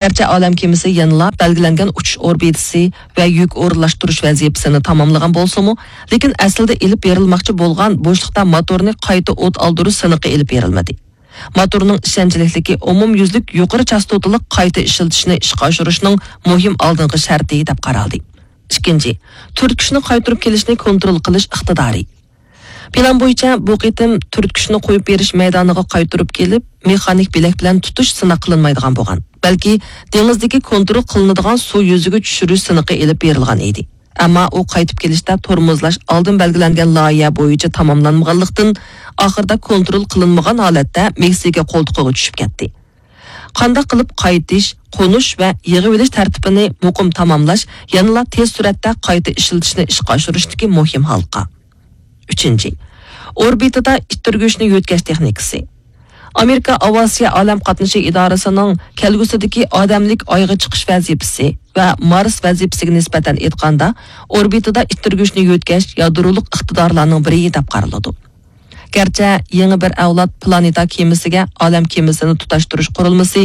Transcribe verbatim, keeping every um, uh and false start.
گەرچە ئالەم كېمىسى يەنىلا بەلگىلەنگەن ئۇچۇش ئوربىتىسى ۋە يۈك ئورۇنلاشتۇرۇش ۋەزىپىسىنى تاماملىغان بولسىمۇ، لېكىن ئەسلىدە ئېلىپ بېرىلماقچى بولغان بوشلۇقتا موتورنى قايتا ئوت ئالدۇرۇش سىنىقى ئېلىپ بېرىلمىدى. موتورنىڭ ئىشەنچلىكلىكى ئومۇميۈزلۈك يۇقىرى چاستوتىلىق قايتا ئىشلىتىشنى ئىشقا ئاشۇرۇشنىڭ مۇھىم ئالدىنقى شەرتى دەپ قارالدى. ئىككىنچى، تۈرتكۈچنى قايتۇرۇپ كېلىشنى كونترول قىلىش ئىقتىدارى. پىلان بويىچە بۇ قېتىم تۈرتكۈچنى قويۇپ بېرىش مەيدانىغا قايتۇرۇپ كېلىپ، مېخانىك بىلەك بىلەن تۇتۇش سىناق قىلىنمايدىغان بولغان، بەلكى دېڭىزدىكى كونترول قىلىنىدىغان سۇ يۈزىگە چۈشۈرۈش سىنىقى ئېلىپ بېرىلغان ئىدى. ئەمما ئۇ قايتىپ كېلىشتە تورمۇزلاش ئالدىن بەلگىلەنگەن لايىھە بويىچە تاماملانمىغانلىقتىن، ئاخىرىدا كونترول قىلىنمىغان ھالەتتە مېكسىكا قولتۇقىغا چۈشۈپ كەتتى. قانداق قىلىپ قايتىش، قونۇش ۋە يىغىۋېلىش تەرتىپىنى مۇقىم تاماملاش يەنىلا تېز سۈرئەتتە قايتا ئىشلىتىشنى ئىشقا ئاشۇرۇشتىكى مۇھىم ھالقا. ئۈچىنچى، ئوربىتىدا ئىتتىرگۈچنى يۆتكەش تېخنىكىسى. ئامېرىكا ئاۋىئاتسىيە ئالەم قاتنىشى ئىدارىسىنىڭ كەلگۈسىدىكى ئادەملىك ئايغا چىقىش ۋەزىپىسى ۋە مارس ۋەزىپىسىگە نىسبەتەن ئېيتقاندا، ئوربىتىدا ئىتتىرگۈچنى يۆتكەش يادرولۇق ئىقتىدارلارنىڭ بىرى دەپ قارىلىدۇ. گەرچە يېڭى بىر ئەۋلاد پلانېتا كېمىسىگە ئالەم كېمىسىنى تۇتاشتۇرۇش قۇرۇلمىسى